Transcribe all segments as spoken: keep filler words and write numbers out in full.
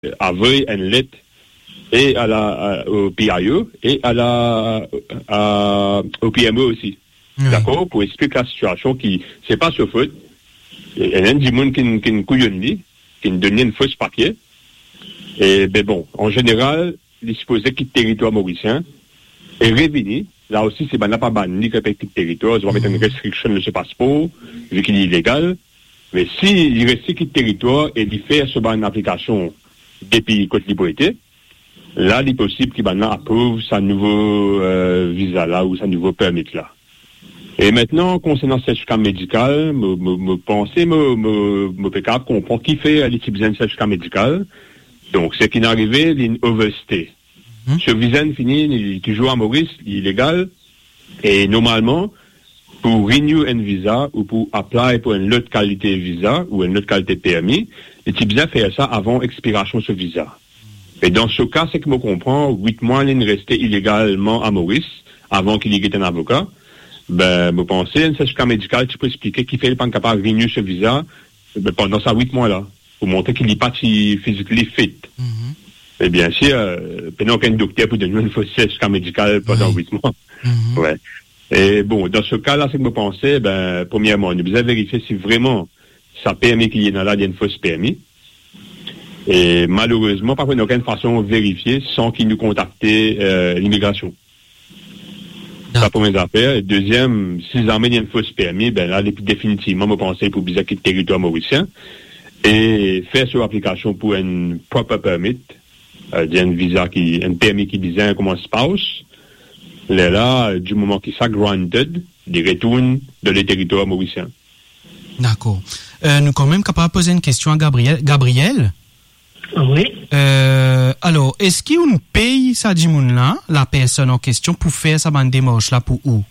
avoy enn let e a la, a, o P I O e a la, a, o P M O osi. Wi. Dakor? Pou explik la sitiasion ki, se pa so fot. E, enn dimoun ki, ki kouyonn li, ki donn li enn fos papie. E, be bon, an zeneral, li sipoze kit teritwar morisien e revini. La osi, si bann la pa bann li, ki pe kit teritwar, zot va met enn restriction lor so paspor, vi ki li ilegal. Me si li reste kit teritwar e li fer so bann aplikasion depi kot li pou ete, la, li posib ki bann la aprouv sa nouvo, eh, viza la ou sa nouvo permit la. E mintnan, konsernan sertifika medikal, mo, mo, mo panse, mo, mo, mo pe kapav konpran kifer li ti bizin sertifika medikal. Donk, seki inn arive, li inn overstay. Mhm. So viza inn fini, li touzour a Moris, li ilegal. E normalman, pou renew enn viza ou pou apply pou enn lot kalite viza ou enn lot kalite permi, li ti bizin fer sa avan expirasion so viza. E dan so ka, seki mo konpran, wit mwa li inn reste ilegalman a Moris avan ki li get enn avoka. Be, mo panse enn sertifika medikal ti pou explike kifer li pa'nn kapav renew so viza, be, pandan sa wit mwa la, pou montre ki li pa ti physically fit. Mhm. E biensir, eh, pena okenn dokter pou donn ou enn fos sertifika medikal pandan wit mwa. Mhm. Wi. E bon, dan so ka la, seki mo panse, be, premierman, nou bizin verifie si vreman sa permi ki li ena la, li enn fos permi. E malerezman, pa pou ena okenn fason verifie san ki nou kontakte, eh, limigrasion. Sa premie zafer. E deziem, si zame li enn fos permi, be la, depi definitivman, mo panse pou bizin kit teritwar morisien e fer so aplikasion pou enn proper permit, eh, dir enn viza ki, enn permi ki bizin kouma spouse. Lerla, di moman ki sa granted, li retourn dan le teritwar morisien. Dakor. Eh, nou kanmem kapav poze enn kestion a Gabriel. Gabriel? Wi. Eh, alor, eski ou'nn pey sa dimoun la, la personn an kestion, pou fer sa bann demars la pou ou?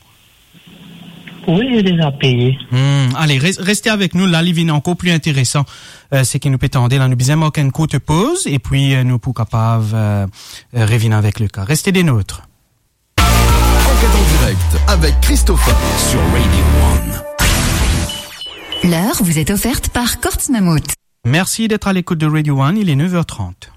Wi, li deza peye. Hmm, ale, res-, reste avek nou, la, li vinn ankor pli interesan, eh, seki nou pe tande la. Nou bizin mark enn kourt poz, epi, eh, nou pou kapav, eh, eh, revinn avek le ka. Reste des nôtres. Enquête en direct avec Christopher sur Radio One. L'heure vous est offerte par Courts Mammouth. Merci d'être à l'écoute de Radio One, il est neuf heures trente.